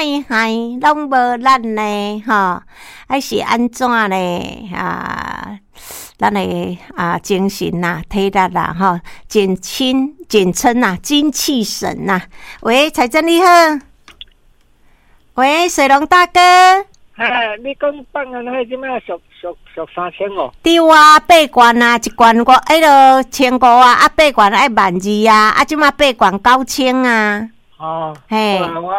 海海攏無力呢？吼，還是按怎呢？啊，咱的啊精神呐、體力啦，吼，簡稱簡稱呐，精氣神呐。喂，彩珍你好。喂，水龍大哥。哎，你講放煙火這擺俗俗俗3500？對啊，八罐啊，一罐五，彼落千五啊，啊八罐愛萬二啊，啊這擺八罐9000啊。哦，嘿，我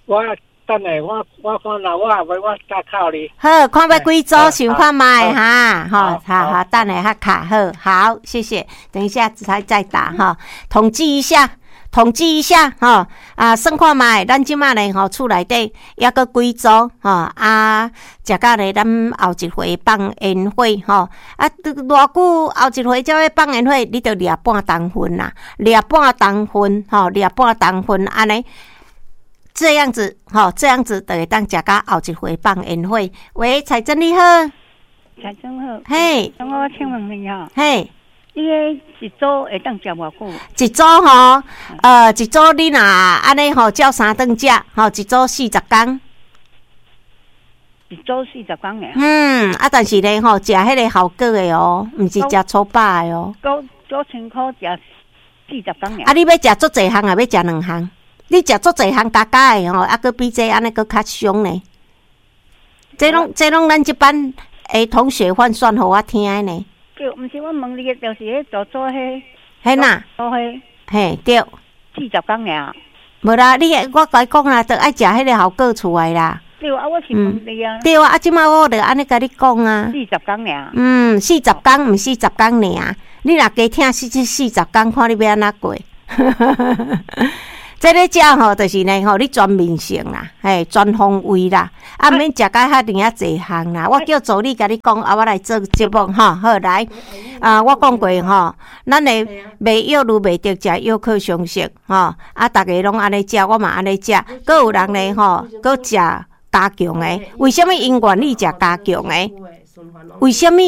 我等下我我看啦，我後尾我再敲你。好，看欲幾組，想看覓哈，好，好好，等下較卡好，好，謝謝，等一下才再打哈，統計一下。統計一下吼，啊，算看覓，咱這擺咧吼，厝內底抑閣幾組吼，啊，食甲咧，咱後一回放煙火吼，啊，偌久後一回才欲放煙火，你著掠半冬份啦，掠半冬份吼，掠半冬份按呢，這樣子吼，這樣子就會當食甲後一回放煙火。喂，彩珍你好。彩珍好。嘿。我請問你吼。嘿。你彼一組會當食偌久？一組吼，一組你若按呢吼，照三頓食，吼，一組40工。一組40工爾。嗯，啊，但是咧吼，食彼个效果的哦，毋是食粗飽的哦。九千箍食40工爾。啊，你欲食足濟項，抑欲食兩項？你食足濟項加加的吼，啊，閣比這按呢閣較傷呢。這攏咱這班的同學換算予我聽的呢。對，毋是我問你的，就是彼做做彼，彼哪？做彼，嘿，對。40工爾。無啦，你我共你講啦，著愛食彼个效果出來啦。對啊，我是問你啊。對啊，啊，這擺我著按呢共你講啊。四十工爾。嗯，四十工毋四十工爾，你若加疼四十工，看你欲按怎過。這咧食吼，就是呢吼，你全面性啦，嘿，全方位啦，啊，免食甲遐爾仔濟項啦。我叫助理共你講，啊，我來做節目吼，好來，啊，我講過吼，咱的賣藥愈袂著食藥靠常識吼，啊，逐家攏按呢食，我嘛按呢食，閣有人咧吼，閣食加強的，為啥物𪜶願意食加強的？為啥物？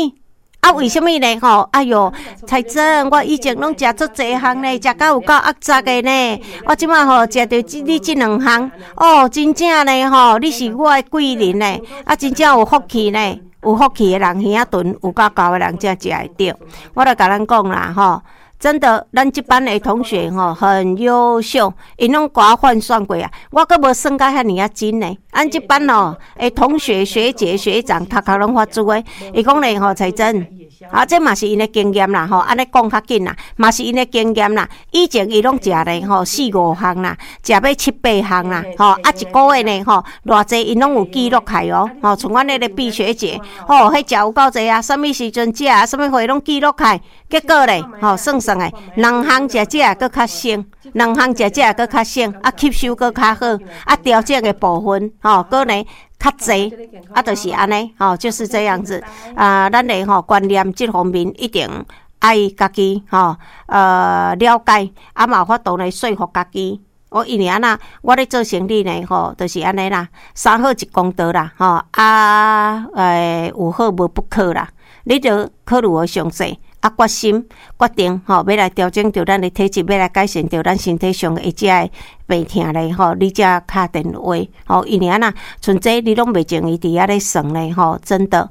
啊，為啥物呢？吼，哎喲，彩珍，我以前攏食足濟項呢，食甲有夠壓雜的呢。我這擺吼食著這你這兩項，哦，真正呢吼，你是我的貴人呢，啊，真正有福氣呢，有福氣的人耳仔鈍，有夠厚的人才食會著。我來共咱講啦，吼。真的，咱這班的同學吼很優秀，𪜶攏共我換算過啊，我閣無算甲遐爾仔真呢。咱這班哦，的同學、學姐、學長，頭殼攏發珠的。伊講咧吼，彩珍，啊，這嘛是𪜶的經驗啦，吼，按呢講較緊啦，嘛是𪜶的經驗啦。以前伊攏食咧吼四五項啦，食欲七八項啦，吼，啊一個月呢吼，偌濟𪜶攏有記錄起哦，吼，像阮彼個畢學姐，吼，彼食有夠濟啊，啥物時陣食啊，啥物貨攏記錄起，結果咧，吼，算算的，兩項食食閣較省，兩項食食閣較省，啊吸收閣較好，啊調整的部分，吼，閣呢較濟，啊，就是按呢，吼，就是這樣子。啊，咱的吼觀念這方面一定愛家己吼，了解，啊嘛有法度來說服家己。我因為按怎，我咧做生理呢，吼，就是按呢啦，三好一公道啦，吼，啊，有好無不可啦，你著考慮予詳細。啊，決心決定吼，欲來調整著咱的體質，欲來改善著咱身體上的這个病痛咧吼，你才敲電話吼，因為按怎，像這你攏袂鍾意佇遐咧算咧吼，真的，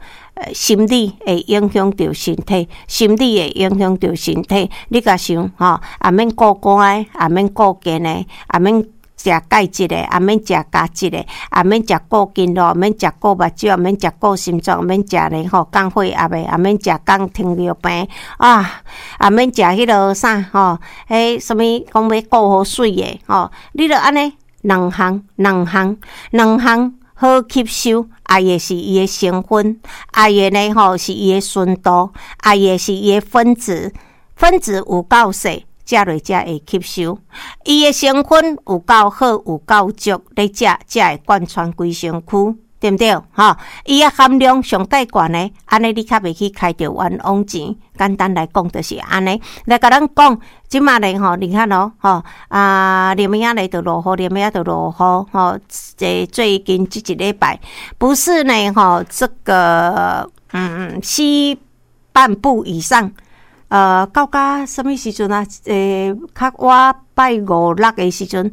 心理會影響著身體，心理會影響著身體。你共想吼，也免顧肝的，也免顧健的，也免食鈣質的，也免食鉀質的，也免食顧筋肉，免食顧目睭，免食顧心臟，免食咧吼降血壓的，也免食降糖尿病啊，也免食彼落啥吼，彼啥物講欲顧好水的吼，你著按呢兩項兩項兩項好吸收，愛的是伊的成分，愛的呢吼是伊的純度，愛的是伊的分子，分子有夠細。食落才會吸收，伊的成分有夠好，有夠足，你食才會貫穿規身軀，對毋對？吼，伊的含量上蓋懸的，按呢你較袂去開著冤枉錢。簡單來講就是按呢。來共咱講，這擺咧吼，你看哦，吼啊，連仔咧就落雨，連仔就落雨，吼，這最近這一禮拜，不是呢，吼，這個西半部以上。到甲啥物時陣啊？較晚拜五六的時陣，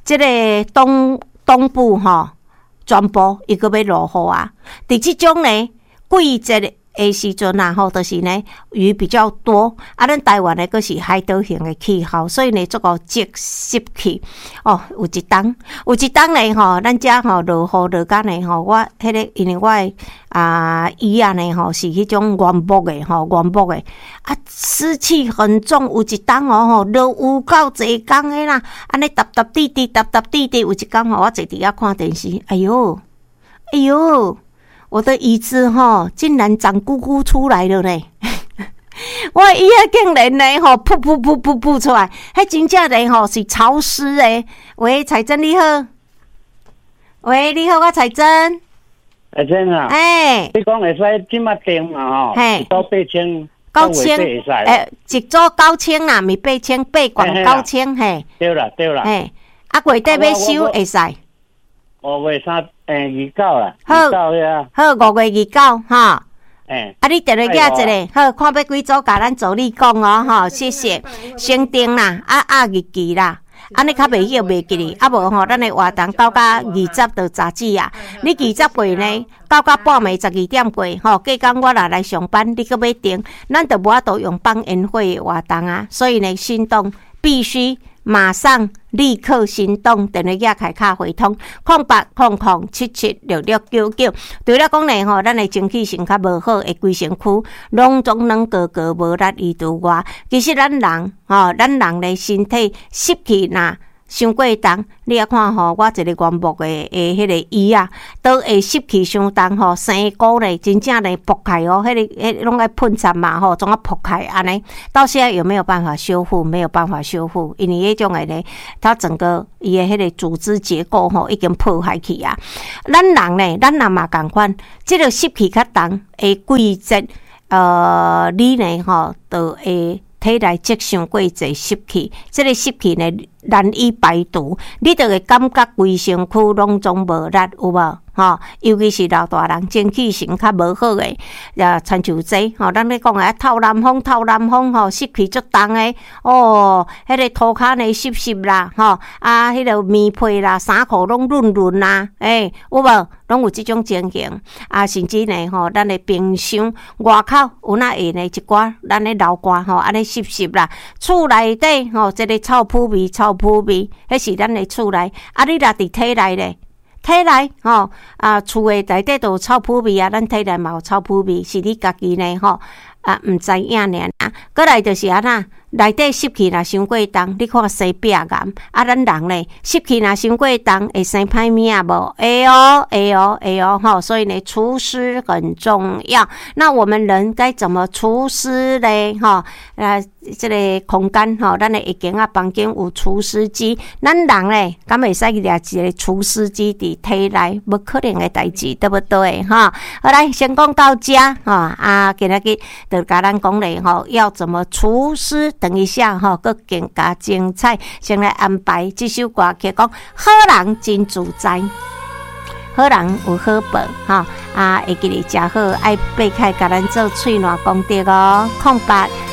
這個東東部吼，全部伊閣欲落雨啊！佇這種呢季節的時陣啊，吼，就是呢雨比較多，啊，咱台灣呢閣是海島型的氣候，所以呢足夠積濕氣。哦，有一冬，有一冬呢吼，咱遮吼落雨落甲呢吼，我彼個因為我的椅仔呢吼是彼種原木的吼，原木的，啊濕氣很重，有一冬哦吼落有夠濟工的啦，按呢沓沓滴滴，沓沓滴滴，有一工吼，我坐佇遐看電視，哎喲，哎喲！我的椅子吼，竟然長菇菇出來了呢！我的椅仔竟然呢吼，噗噗噗噗噗出來，彼真正呢吼是潮濕的。喂，彩珍你好，喂，你好，我彩珍。彩珍啊，欸，你講會使這馬訂嘛吼？嘿，一組8000， 9000，欸，一組九千啦，毋是八千，八罐九千嘿。對啦對啦。嘿，啊月底欲收會使。 5月3，29啦，好，好，5月29吼。欸，啊，你電話寄一下，好，看欲幾組，共咱助理講哦，吼，謝謝。先訂啦，啊壓日期啦，按呢較袂曉袂記哩，啊無吼，咱的活動到甲20就截止啊。你20過呢，到甲半暝12點過，吼，隔工我若來上班，你閣欲訂，咱就無法度用放煙火的活動啊。所以呢，行動必須馬上立刻行動，電話寄開卡匯通，0800776699。除了講呢吼，咱的精氣神較無好，會規身軀攏總軟糊糊無力伊除外，其實咱人吼，咱人的身體濕氣若傷過重，你仔看吼，我一個原木的彼個椅仔，都會濕氣傷重吼，生菇咧，真正咧爆開哦，彼個彼攏愛噴漆嘛吼，總啊爆開按呢，到現在有沒有辦法修復？沒有辦法修復，因為彼種的咧，它整個伊的彼個組織結構吼已經破壞去啊。咱人咧，咱人嘛仝款，這個濕氣較重的季節，你呢吼，就會體內積傷過濟濕氣，這個濕氣呢難以排除，你就會感覺規身軀攏總無力，有無？吼，尤其是老大人精氣神較無好的，啊，親像這吼，咱咧講的透南風，透南風吼，濕氣足重的，哦，彼個塗跤呢濕濕啦，吼，啊，彼個棉被啦、衫褲攏潤潤啦，欸，有無？攏有這種情形，啊，甚至呢吼，咱的冰箱外口有哪會呢一寡咱咧流汗吼，按呢濕濕啦，厝內底吼，這個臭撲味，臭撲味，彼是咱的厝內，啊，你若佇體內咧？體內吼啊，厝的內底都有臭撲味啊，咱體內嘛有臭撲味，是你家己呢吼啊，毋知影爾爾。閣來就是按怎，內底濕氣若傷過重，你看生壁癌啊，咱人咧濕氣若傷過重，會生歹物仔無？會哦，會哦，會哦，吼！所以呢，除濕很重要。那我們人該怎麼除濕咧？吼，啊，這個空間吼，咱的一間仔房間有除濕機，咱人咧，敢會使掠一個除濕機佇體內？無可能的代誌，對不對？吼，好來，先講到遮，吼啊，今仔日就共咱講咧，吼，要怎麼除濕？等一下，吼，閣更加精彩。先來安排這首歌曲，講好人真自在，好人有好報，吼啊，會記得食好，愛擘開共咱做喙瀾功德哦，08。